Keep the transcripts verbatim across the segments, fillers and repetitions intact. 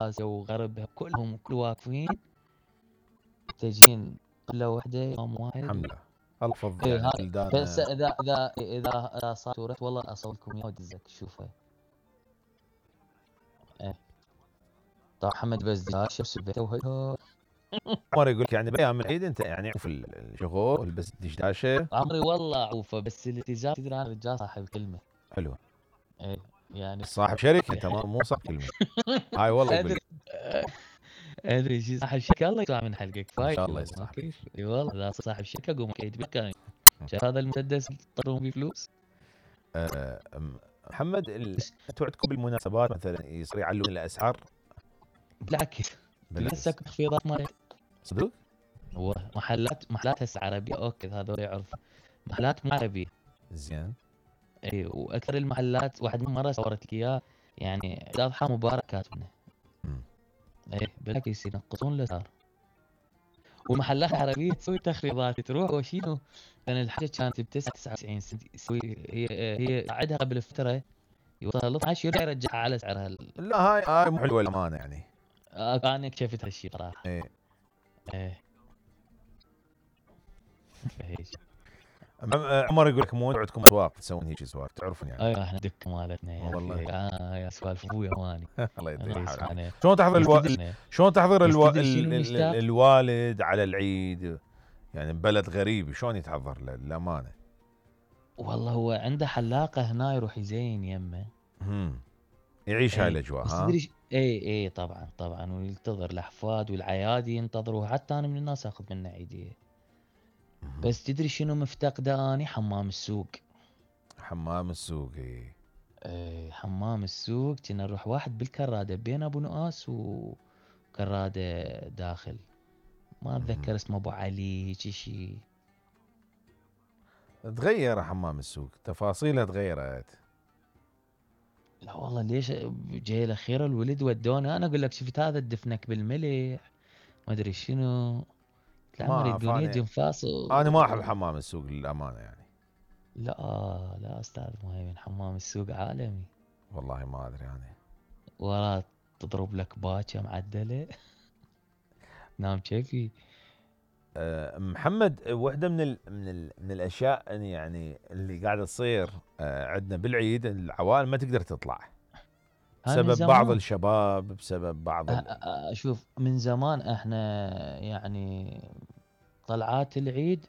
اسيا وغربها كلهم كل واقفين تجين طلة واحدة يوم واحد. الحمد لله الله يحفظ ايه يعني هاي بلدان. بس اذا اذا اذا اذا صارت ورث والله اصوركم اياها ودزك شوفها. ايه طبعا محمد بس داشه وسبته وهي عمر يقول لك يعني بايام العيد انت يعني في الشغل والبس دشداشه. عمري والله عوفه بس الالتزام تدري انا رجال صاحب كلمه. حلو. ايه يعني صاحب شركه تمام مو صاحب كلمه. هاي والله يقول ادري ادري شي صاحب شركه الله يطلع من حلقك ان فايت شاء الله ما يصلح. كيف اي والله لا صاحب شركه قوم كيد بالكاين شايف هذا المسدس طرون بيه فلوس. أه محمد ال... انتوا عندكم بالمناسبات مثلا يصير يعلون الاسعار؟ بالعكس بالعكس. لسه تخفيضات ما صدق؟ هو محلات محلات هسه عربيه اوكي هذول يعرف محلات مو عربيه. زين. اي واكثر المحلات واحد من مره صورت لك اياه يعني عيد اضحى مبارك كاتبنا. اي بالعكس ينقصون الاسعار والمحلات العربيه تسوي تخفيضات تروح وشينو كان الحاجه كانت ب تسعة وتسعين سنت يسوي هي هي عندها قبل فتره يوصل اثنا عشر يرجع يرجعها على سعرها. لا هاي هاي مو حلوه الامانه يعني. آه انا اكتشفت هالشيء صراحه. ايه ايه فهيج. عمر يقول لك مو عندكم اسواق تسوون هيك اسواق تعرفون يعني. ايوه احنا دكه مالتنا يا والله. اخي اه يا سوالف ابويا واني. الله يديك الحال. انا شلون تحضر الو... شلون تحضر الو... ال... ال... ال... الوالد على العيد يعني بلد غريب شلون يتحضر للامانه؟ والله هو عنده حلاقه هنا يروح يزين يمه. امم يعيش هاي الاجواء ها. تدري اي اي طبعا طبعا وينتظر الاحفاد والعيادي ينتظروا حتى انا من الناس اخذ منه عيديه. بس تدري شنو مفتقده اني؟ حمام السوق. حمام السوق اي ايه حمام السوق كنا نروح واحد بالكراده بين ابو نؤاس وكراده داخل ما اتذكر اسمه ابو علي هيك شيء. تغير حمام السوق تفاصيله تغيرت. لا والله ليش جاي الاخير الولد ودونا انا اقول لك شفت هذا الدفنك بالملح ما ادري شنو العمر يبدون يجي فاصل. انا ما احب حمام السوق للامانه يعني. لا لا استاذ مهيمن حمام السوق عالمي. والله ما ادري يعني. ورا تضرب لك باكه معدله نام كيفي. أه محمد واحده من ال من ال من الاشياء يعني اللي قاعده تصير أه عندنا بالعيد العوائل ما تقدر تطلع بسبب بعض الشباب بسبب بعض ال... شوف من زمان احنا يعني طلعات العيد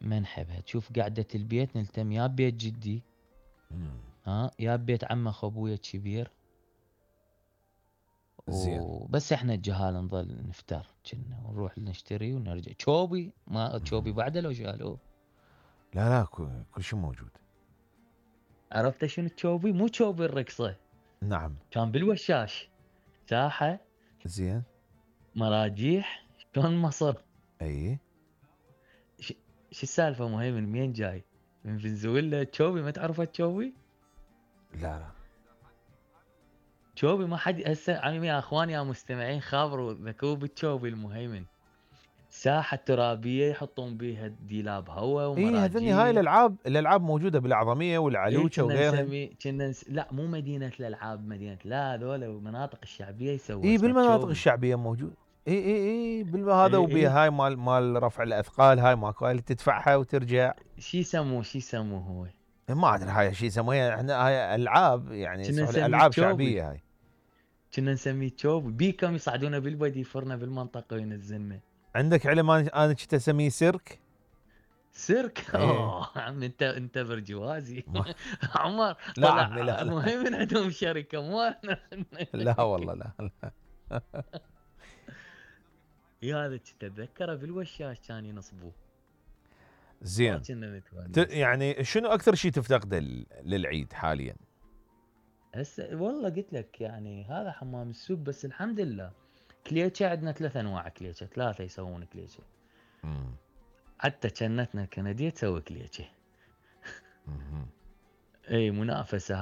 ما نحبها. تشوف قعدة البيت نلتم يا بيت جدي مم. ها يا بيت عمه اخو ابويا الكبير وبس احنا الجهال نظل نفتر كنا ونروح نشتري ونرجع. تشوبي ما تشوبي بعده لو شالوه. لا لا كل شيء موجود. عرفت شنو تشوبي؟ مو تشوبي الرقصة. نعم. كان بالوشاش ساحة زين مراجيح شلون مصر. اي ش... شو السالفة مهيمن منين جاي؟ من فنزويلا تشوبي ما تعرفها تشوبي؟ لا لا تشوبي ما حد هسه عمي يا اخواني يا مستمعين خابروا ذكروا بالتشوبي المهيمن. ساحة ترابية يحطون بيها ديلاب هواء ومراجيح. اي هذني هاي الالعاب الالعاب موجودة بالأعظمية والعلوشة إيه وغيرها. نسمي كنا نس... لا مو مدينة الالعاب مدينة لا ذولا المناطق الشعبية يسووا. اي بالمناطق الشعبية موجود. اي اي اي بالهذا إيه وبيها إيه. هاي مال مال رفع الاثقال هاي ماكو هاي اللي تدفعها وترجع. شي يسموه شي يسموه هو؟ ما ادري هاي شي يسموها احنا هاي العاب يعني العاب شعبية هاي. كنا نسميه تشوبي. بيكم يصعدونا بالبدي يفرنا بالمنطقة وينزلنا. عندك علم انا انا كنت اسميه سيرك. سيرك؟ ايه. اوه عم انت انت برجوازي عمر لا طلع عمي لا لا. مهم عندهم شركة مو لا والله لا لا. يا هذا كنت اتذكره بالوشاش كان ينصبوه. زين يعني شنو اكثر شيء تفتقده للعيد حاليا؟ هسه والله قلت لك يعني هذا حمام السوق بس الحمد لله. كليتشه عندنا ثلاث انواع كليتشه ثلاثه يسوون كليتشه. امم حتى جنتنا الكنديه تسوي كليتشه. اي منافسه